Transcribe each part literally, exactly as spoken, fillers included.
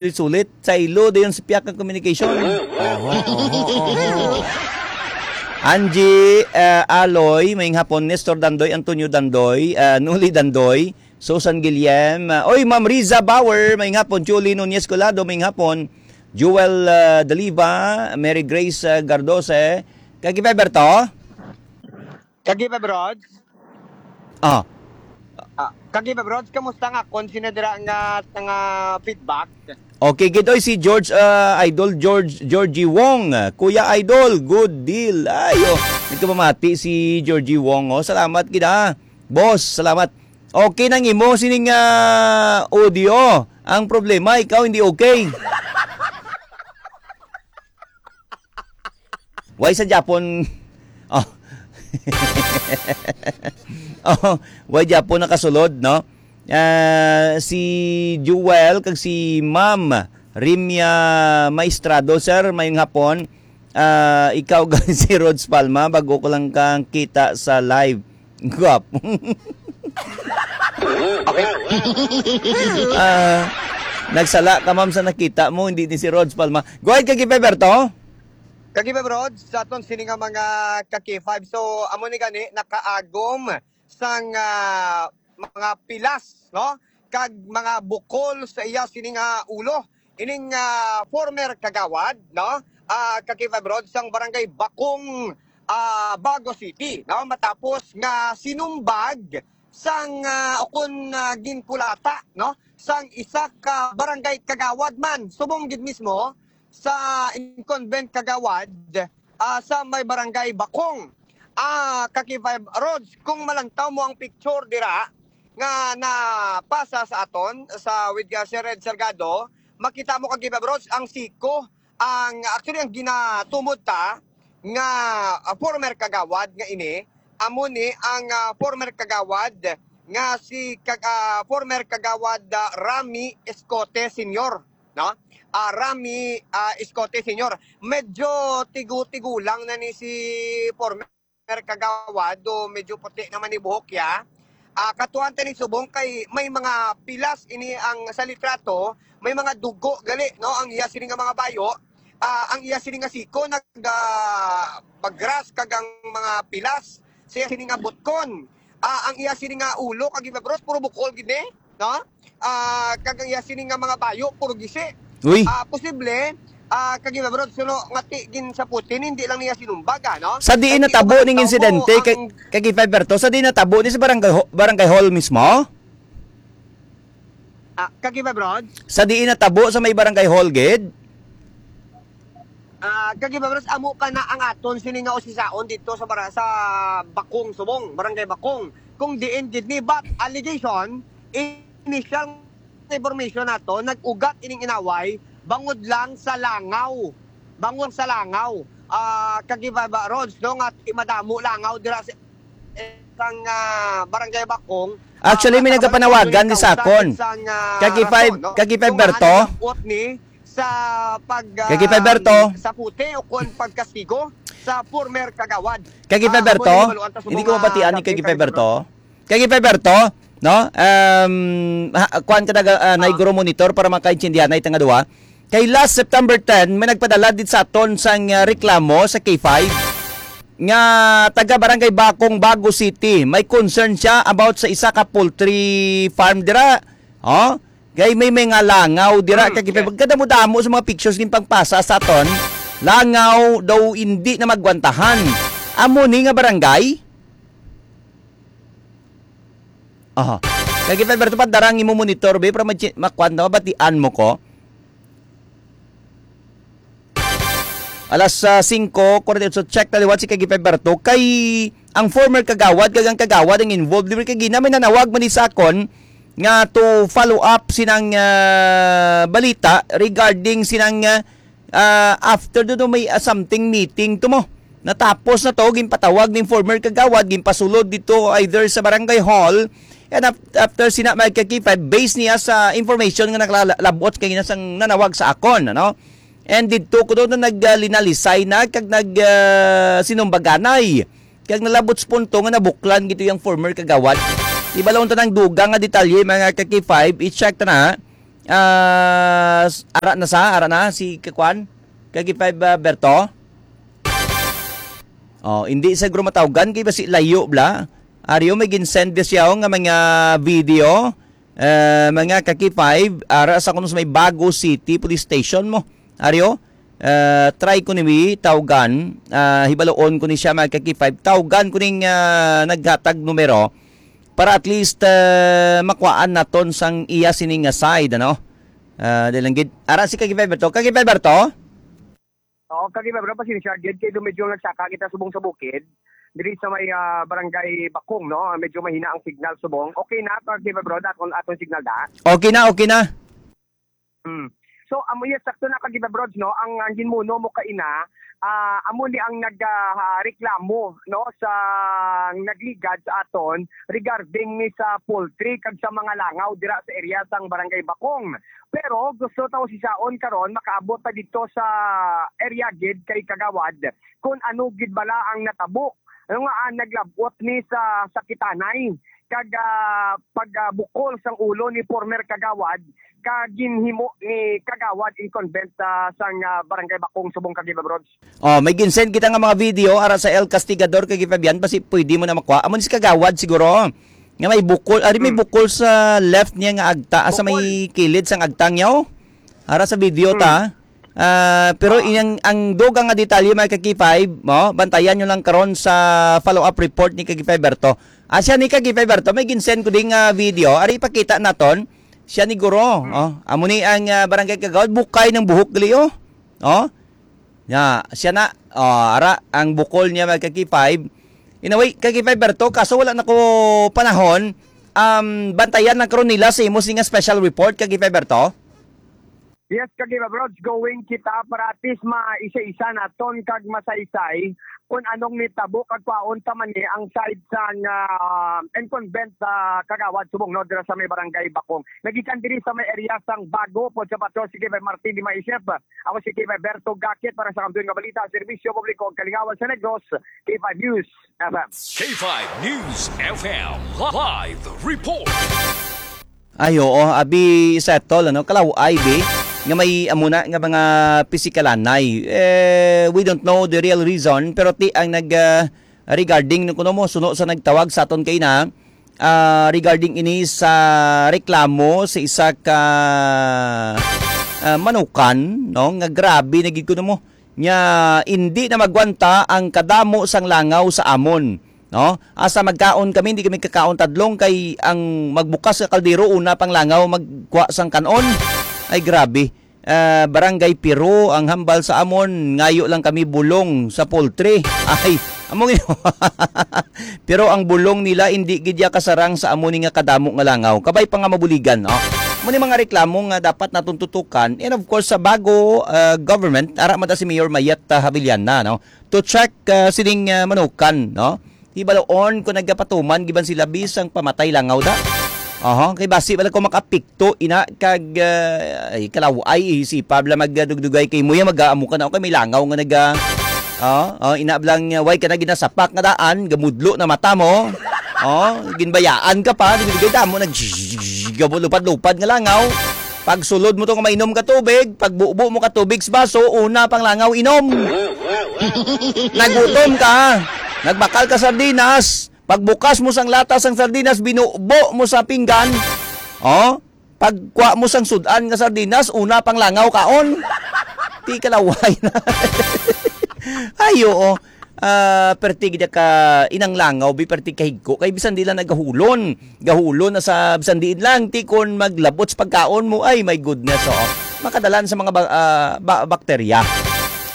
sulit-sulit. Saylo dayon sa piyak nga communication. Oho, oho, oho. Angie, eh, Aloy, may hapon, Nestor Dandoy, Antonio Dandoy, eh, Nuli Dandoy, Susan Guillem, eh, oy, Ma'am Riza Bauer, may hapon, Julie Nunez Colado, may hapon, Jewel, eh, Daliva, Mary Grace, eh, Gardose, kag Beberto? Kag Beberto? Ah. Ah, kag Beberto, kamusta nga kon sino dira nga, nga feedback? Okay, gid, oy, si George, ah, Idol George, Georgie Wong. Kuya Idol, good deal. Ay, oh, nagkapamati si Georgie Wong, oh. Salamat gid, ah. Boss, salamat. Okay nang imo sining, ah, audio. Ang problema, ikaw hindi okay. Why sa Japon? Oh. Oh, why Japon nakasulod, no? Ah, si Jewel kag si Ma'am Rimia Maestrado, sir, mayong hapon. Ah, ikaw, si Rods Palma, bago ko lang kang kita sa live. Guwapo. Okay. Ah, nagsala ka, ma'am, sa nakita mo, hindi ni si Rods Palma. Go ahead, Kaki Beberto. Kaki Beberto, sa aton sini nga mga Kaki Five. So, amo ni gani, nakaagom sang, ah, mga pilas, no? Kag mga bukol sa iya sini nga ulo. Ining, ah, former kagawad, no? Ah, Kaki Five Road sang Barangay Bakong, ah, Bago City, no? Matapos nga sinumbag sang, ah, ukon, ah, ginkulata, no? Sang isa ka barangay kagawad man, subong gid mismo sa incumbent kagawad, ah, sa may barangay Bakong. Ah, Kaki Five Roads, kung malantaw mo ang picture dira nga napasa sa aton sa with, ah, Sir Red Salgado, makita mo, Kaki Five Roads, ang siko, ang, actually, ang ginatumod ta nga, ah, former kagawad nga ini, amo ni ang, ah, former kagawad nga si kag-, ah, former kagawad, ah, Rami Escote Senior, no? Ah, Rami, ah, Escote Senior. Medyo tigu-tigulang na ni si former kagawad, do medyo puti naman ni buhok ya. Ah, katuan ta ni subong kay may mga pilas ini ang sa litrato, may mga dugo gali, no, ang iya sini nga mga bayo. Ah, ang iya sini nga siko nag, ah, bagras kag ang mga pilas sa iya sini nga butkon. Ah, ang iya sini nga ulo kag iba, bros, puro bukol gid ni, no? Ah, kag ang iya sini nga mga bayo puro gisi. Uy. Ah, posible, ah, kag iba, bros, suno nga ti gin sa putin, hindi lang niya sinumbaga, no? Sa diin natabo ning insidente, kag, kag iba, Berto, sa diin natabo ni sa barangay ho-, barangay hall mismo? Ah, kag iba, bros? Sa diin natabo sa may barangay hall gid? Ah, kag iba, bros, amo ka na ang aton sini nga usisaon dito sa bara-, sa Bakong, Subong, Barangay Bakong. Kung diin gid ni, but allegation, initial information nato, nag-ugat ining inaway bangod lang sa langaw. Bangod sa langaw. Ah, kag iba, Rods, no, nga madamo langaw dira sa sang, ah, Barangay Bakong. Actually, ah, may nagapanawagan di sa akon. Sang, ah, Kaki Five, rason, no? Kaki Five Kung Berto? Maalam ni sa pag, Kaki Five Berto? Ah, sa puti o kung pagkastigo sa former kagawad. Kaki Five Berto? Ah, amo ni, hindi ko mabatian ni Kaki Five Berto. Kaki Five Berto, no? Um, ha, kuan ka naga, ah, ah, naiguro monitor para makaintindihan na itang duwa. Kay last September ten, may nagpadala din sa aton sang, ah, reklamo sa K five nga taga Barangay Bakong, Bago City. May concern siya about sa isa ka poultry farm dira. Oh, kay may mga langaw dira. Mm, kay yes. Pagkadamo-damo sa mga pictures ning pagpasa sa aton, langaw daw hindi na magwantahan. Amo ni nga barangay? Aha. Kay Five Berto, padarang imo monitor, be, para ma-, makuan na, mabatian mo ko. Alas, ah, singko kuwarenta y ocho, check na liwat si Kagi Five Berto. Kay ang former kagawad, kag ang kagawad ang involved. Libre kay gina, may nanawag man ni sa akon nga to follow up sinang, ah, balita regarding sinang, ah, ah, after do, do may, ah, something meeting to mo. Natapos na to, ginpatawag ning former kagawad, ginpasulod dito either sa barangay hall, and af-, after sina Mike Kakipay, based niya sa information nga nakalabot kay na sang nanawag sa akon, ano? And dito ko doon na naglinalisay na, kag nag, ah, sinumbaganay. Kag nalabot sa punto nga nabuklan gito yung former kagawad. Ibalon ta ng dugang nga detalye, mga Kaki Five, i-check ta na. Ah, s- ara na sa, ara na si Kakwan? Kagi five, ah, Berto? Oh, hindi sa grumatawgan kay basi layo bla. Aryo may ginsend siya nga mga video. Eh, mga Kaki five, ara sa kuno sa may Bago City Police Station mo. Aryo, eh, try ko ni tawgan, ah, hibaloon ko ni siya mga Kaki five. Tawgan ko ning, ah, naghatag numero para at least, eh, makuhaan naton sang iya sini nga side, ano? Ah, di lang gid. Ara si Kaki Five to. Kaki Five to? Oo, Kaki Five, pasensya gid kay medyo nagsaka kita subong sa bukid. Diri sa may, ah, barangay Bakong, no? Medyo mahina ang signal subong. Okay na, Kaki Five, aton, aton signal da. Okay na, okay na. Hmm. So, amo yan, sakto na, Kaki Five, no? Ang, ang ginmuno mo kaina, ah, amo ni ang nag, ah, reklamo, no, sa nagligad sa aton regarding ni sa poultry kag sa mga langaw dira sa area sang Barangay Bakong. Pero gusto ta usisaon karon makaabot ta dito sa area gid kay Kagawad kung ano gid bala ang natabo. Ano nga, ah, naglabot ni sa sakitanay kag, ah, pag, ah, bukol sang ulo ni former Kagawad ka ginhimo ni Kagawad incumbent, ah, sang, ah, Barangay Bakong subong Kaki Five, Brods. Oh, may ginsend kita nga mga video ara sa El Castigador kay Fabian, basi pwede mo na makuha. Amo ni si Kagawad siguro nga may bukol, ari may Hmm. bukol sa left niya nga agta, sa Bukol. may kilid sang agtang niya, oh. Ara sa video Hmm. ta. Ah, pero Ah. iyang, ang dugang nga detalye, mga Kaki Five, mo, bantayan nyo lang karon sa follow-up report ni Kaki Five Berto. Ah, siya ni Kaki Five Berto, may ginsend ko ding, ah, video. Ari ipakita naton. Siya ni Guro, Hmm. oh. Amo ni ang, ah, barangay kagawad, bukay ng buhok gali, oh. Oh. Ya, siya na. Oh, ara ang bukol niya, mga Kaki Five. In a way, Kaki Five Berto, kaso wala na ko panahon. Um, bantayan lang karon nila sa imo sing special report, Kaki Five Berto. Yes, Kaki Five Brods, going kita para at least maisa-isa naton kag masaysay kung anong nitabo kag kwaon ta man ni ang side sang, ah, incumbent, ah, Kagawad subong, no, dira sa may barangay Bakong. Nagikan diri sa may area sang Bago, pod sa patro si Kevin Martin di Maisip. Ako si Kevin Berto Gakit para sa Kampiyon nga Balita, Serbisyo Publiko ug Kalingawan sa Negros, K five News F M. K five News F M live report. Ay, oo, abi settle, ano, kalaw-ay, bi, nga may amo na nga mga pisikalanay. Eh, we don't know the real reason, pero ti ang nag, ah, regarding no kuno mo, suno sa nagtawag sa aton kay na, ah, regarding ini sa reklamo sa isa ka, ah, manukan, no, nga grabe na gid kuno mo, nga hindi na magwanta ang kadamo sang langaw sa amon. No? Asa magkaon kami, hindi kami kakaon tadlong kay ang magbukas sa kaldero, una pang langaw magkuha sang kanon. Ay, grabe. Ah, Barangay Piro ang hambal sa amon, ngayo lang kami bulong sa poultry. Ay, amo nga. Pero ang bulong nila hindi gid ya kasarang sa amo ni nga kadamo nga langaw. Kabay pa nga mabuligan, no? Mo ni mga reklamo nga dapat naton tutukan. And of course, sa Bago, ah, government, ara man ta si Mayor Mayet, ah, Havillana, no? To check, ah, sining, ah, manukan, no? Hibaloon ko nagapatuman giban sila bisang pamatay langaw da. Aha, kay basi wala ko makapikto ina kag, ah, ay, kalaw-ay, isipa bala magdugdugay kay mo ya mag-amo ka na, okay, may langaw nga naga, ah, ah, ina blang, ah, way ka na ginasapak nga daan, gamudlo na mata mo. Oh, ginbayaan ka pa, dugdugay damo nag gamulupad-lupad nga langaw. Pagsulod mo to nga mainom ka tubig, pagbubo mo ka tubig sa baso, una pang langaw inom. Nagutom ka, nagbakal ka sardinas, pagbukas mo sang lata sang sardinas, binubo mo sa pinggan. Oh, pagkuha mo sang sudan nga sardinas, una pang langaw kaon. Ti kalaway na. Ay, oo. Ah, perti gid ka inang langaw, bi, perti kahigko kay bisan di lang nagahulon. Gahulon na sa bisan diin lang, ti kon maglabot sa pagkaon mo, ay, my goodness, oo. Makadalan sa mga ba-, ah, ba-, bakterya.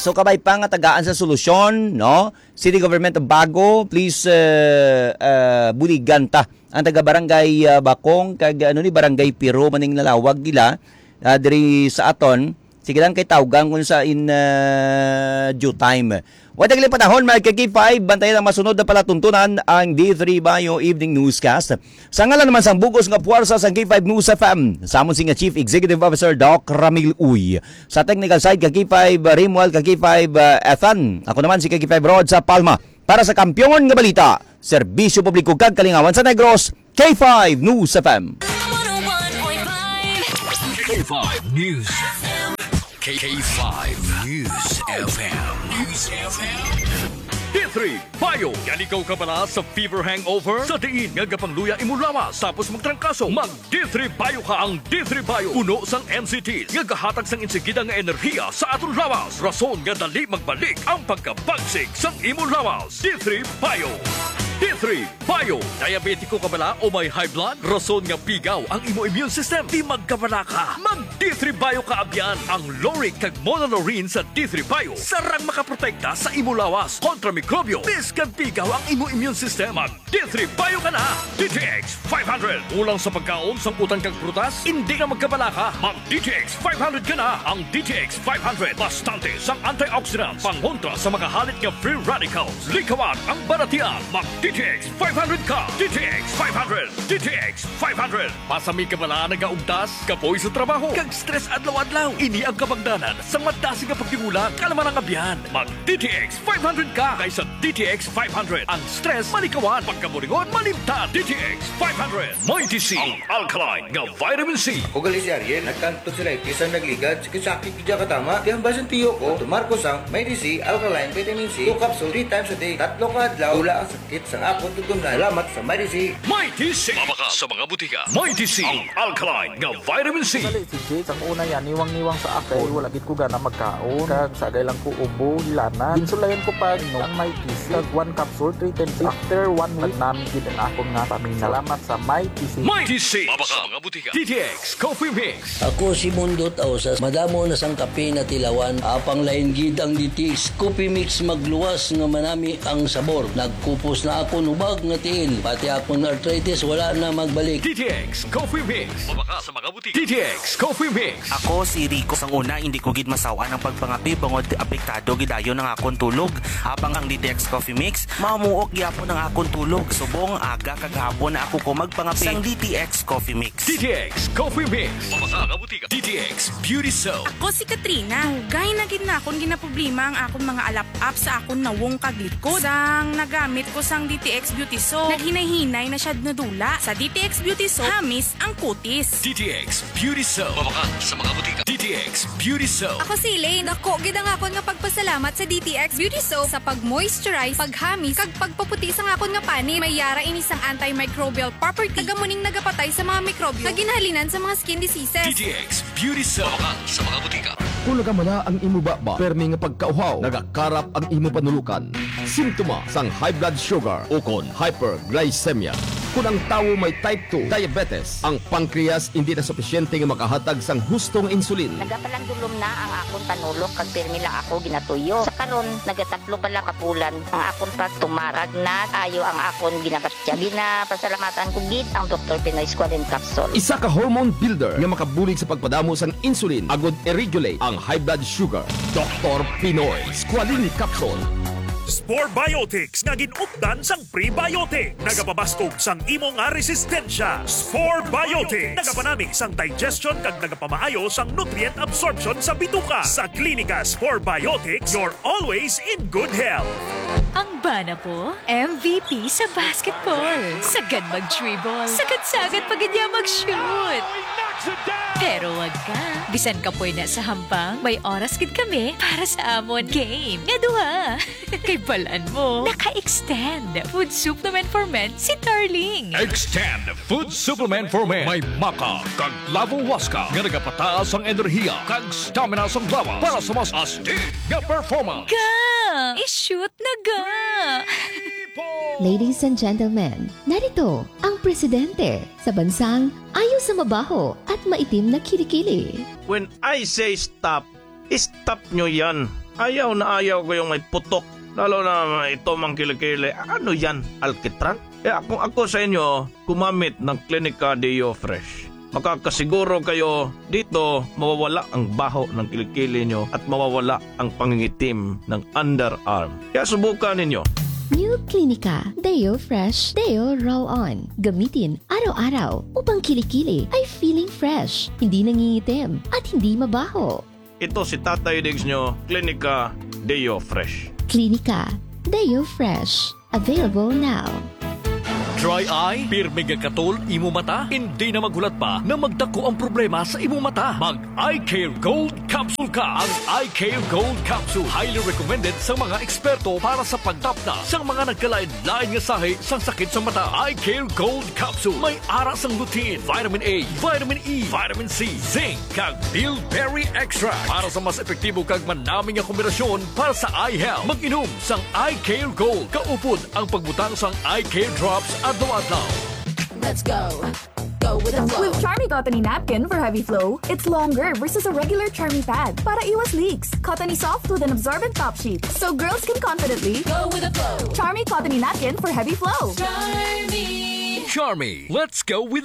So, kabay pa nga tagaan sa solusyon, no? City Government of Bago, please, eh, eh, buligan ta ang taga Barangay, ah, Bakong kag, ano ni, Barangay Piro maning nalawag nila, ah, diri sa aton. Sige lang kay tawgan kun sa in, ah, due time. Wa tagli panahon, mga ka-K five, bantayan ang masunod na palatuntunan, ang D three Bayo Evening Newscast. Sa ngalan naman sang bugos nga puwersa sang K five News F M, sa amon sing Chief Executive Officer, Doc Ramil Uy. Sa technical side, ka-K five, Rimuel, ka-K five, ah, Ethan. Ako naman si ka-K five Rod sa Palma. Para sa Kampiyon nga Balita, Serbisyo Publiko kag Kalingawan sa Negros, K five News F M. K five News. K K five News F M. News F M. D three Bio. Yan ikaw kabala sa fever hangover? Sa diin nga gapangluya imo lawas tapos magtrangkaso, mag D three Bio ka. Ang D three Bio puno sang N C T nga gahatag sang insigida nga enerhiya sa aton lawas, rason nga dali magbalik ang pagkabagsik sang imo lawas. D three Bio. D three Bio. Diabetiko ka bala o may high blood? Rason nga pigaw ang imo immune system. Di magkabala ka. Mag D three Bio ka abyan. Ang lauric kag monolaurin sa D three Bio sarang makaprotekta sa imo lawas kontra mikrobyo. Bisan pigaw ang imo immune system, mag D three Bio ka na. D T X five hundred. Kulang sa pagkaon, sang utan kag prutas, hindi na magkabala ka. Mag D T X five hundred ka na. Ang D T X five hundred, bastante sang antioxidants, pangontra sa mga halit nga free radicals. Likawan ang balatian. Mag D T X five hundred ka. D T X five hundred. D T X five hundred. Basta may kabala, nagaugtas, kapoy sa trabaho, kag stress adlaw-adlaw. Ini ang kabangdanan sang madasig nga pagtigulang, kalaman ang abyan. Mag D T X five hundred ka, kay sa D T X five hundred, ang stress malikawan, pagkaburingon malimtan. D T X five hundred, Mighty C, ang alkaline nga vitamin C. Ako gali si Ariel, nagkanto sila, eh, bisan nagligad, sakit-sakit gid siya katama. Kaya ang basin tiyo ko, tumar ko sang Mighty C alkaline vitamin C, two capsule, three times a day, tatlo ka adlaw, wala ang sakit sang akon tutumlan. Salamat sa Mighty C. Mighty C. Mabakal sa mga butika. Mighty C, ang alkaline nga vitamin C. Gali si Jade, sang una yan, niwang-niwang sa ako. Wala gid ko gana magkaon. Kag sagay lang ko ubo, hilana. Ginsulayan ko pa, no, ang may kisi. Kag one capsule, three times. After one week, nami gid ang akon nga pamina. Salamat sa may kisi. Mighty C. Mabakal sa mga butika. D T X Coffee Mix. Ako si Mundo Tausas. Madamo na sang kape na tilawan. Apang lain gid ang D T X Coffee Mix, magluwas nga manami ang sabor. Nagkupos na akon hubag nga tiil. Pati akon arthritis wala na magbalik. D T X Coffee Mix. Mabakal sa mga butika. D T X Coffee Mix. Ako si Rico. Sang una, hindi ko gid masaw-an ang pagpangape bangod apektado gid ayon ang akon tulog. Apang ang D T X Coffee Mix, mamuok gyapon ang akon tulog. Subong aga kag hapon na ako ko magpangape. Sang D T X Coffee Mix. D T X Coffee Mix. Mabakal sa mga butika. D T X Beauty Soap. Ako si Katrina. Dugay na gid na akon ginaproblema ang akon mga alap-ap sa akon nawong kag likod. Sang nagamit ko sang D T X Beauty Soap, naghinay-hinay na siya nadula. Sa D T X Beauty Soap, hamis ang kutis. D T X Beauty Soap. Mabakal sa mga butika. D T X Beauty Soap. Ako si Elaine. Dako gid ang akon nga pagpasalamat sa D T X Beauty Soap sa pag-moisturize, paghamis, kag pagpaputi sang akon nga panit. May yara ini sang antimicrobial property, kag amo ning nagapatay sa mga mikrobyo nga ginhalinan sa mga skin diseases. D T X Beauty Soap. Mabakal sa mga butika. Kung nagamala ang imo baba, permi nga pagkauhaw, nagakarap ang imo panulukan, simptoma sang high blood sugar ukon hyperglycemia. Kung ang tawo may type two diabetes, ang pancreas hindi na supisyente nga makahatag sang husto nga insulin. Nagapalandulom na ang akon panulok kag pirmi lang ako ginatuyo. Sa karon, nagatatlo pa lang ka bulan ang akon pagtumar. Kag nag-ayo ang akon ginabatya. Ginapasalamatan ko gid ang Doktor Pinoy Squalene Capsule. Isa ka hormone builder nga makabulig sa pagpadamo sang insulin agud i-regulate ang high blood sugar. Doktor Pinoy Squalene Capsule. Spore Biotics nga gin-updan sang prebiotic. Nagapabaskog sang imo nga resistensya. Spore Biotics. Nagapanami sang digestion kag nagapamaayo sang nutrient absorption sa bituka. Sa Klinika Spore Biotics, you're always in good health. Ang bana ko, M V P sa basketball. Sagad mag-dribble. Sagad-sagad pa gid niya mag-shoot. Pero wag ka. Bisan kapoy na sa hampang, may oras gid kami para sa amon game nga duha. Kay balan mo, naka-extend food supplement for men si Darling. Extend food supplement for men. May maca kag lavo huasca nga nagapataas ang enerhiya kag stamina sang lawas para sa mas astig nga performance. Ga! I-shoot na ga! Ladies and gentlemen, narito ang presidente sa bansang ayo sa mabaho at maitim na kilikili. When I say stop, stop nyo yan. Ayaw na ayaw ko yung may putok. Lalo na ito mang kilikili. Ano yan? Alkitran? Kaya kung ako sa inyo, gumamit ng Klinika Deo Fresh. Makakasiguro kayo dito mawawala ang baho ng kilikili nyo at mawawala ang pangingitim ng underarm. Kaya subukan ninyo. New Klinika Deo Fresh Deo Roll On. Gamitin araw-araw upang kilikili ay feeling fresh, hindi nangingitim, at hindi mabaho. Ito si Tatay Diggs nyo, Klinika Deo Fresh. Klinika Deo Fresh. Available now. Dry eye? Pirmi nga katol imo mata? Hindi na maghulat pa na magdako ang problema sa imo mata. Mag Eye Care Gold Capsule ka. Ang Eye Care Gold Capsule, highly recommended sa mga eksperto para sa pagtapna sa mga nagkalain-lain nga sahi sang sakit sa mata. Eye Care Gold Capsule may ara sang lutein, vitamin A, vitamin E, vitamin C, zinc, kag bilberry extract para sa mas epektibo kag manami nga kombinasyon para sa eye health. Mag-inom sang Eye Care Gold. Kaupod ang pagbutang sang Eye Care Drops adlaw-adlaw. Let's go. Go with the flow. With Charmy Cottony Napkin for heavy flow, it's longer versus a regular Charmy pad para iwas leaks. Cottony soft with an absorbent top sheet, so girls can confidently Go with the flow. Charmy Cottony Napkin for heavy flow. Charmy. Charmy, let's go with the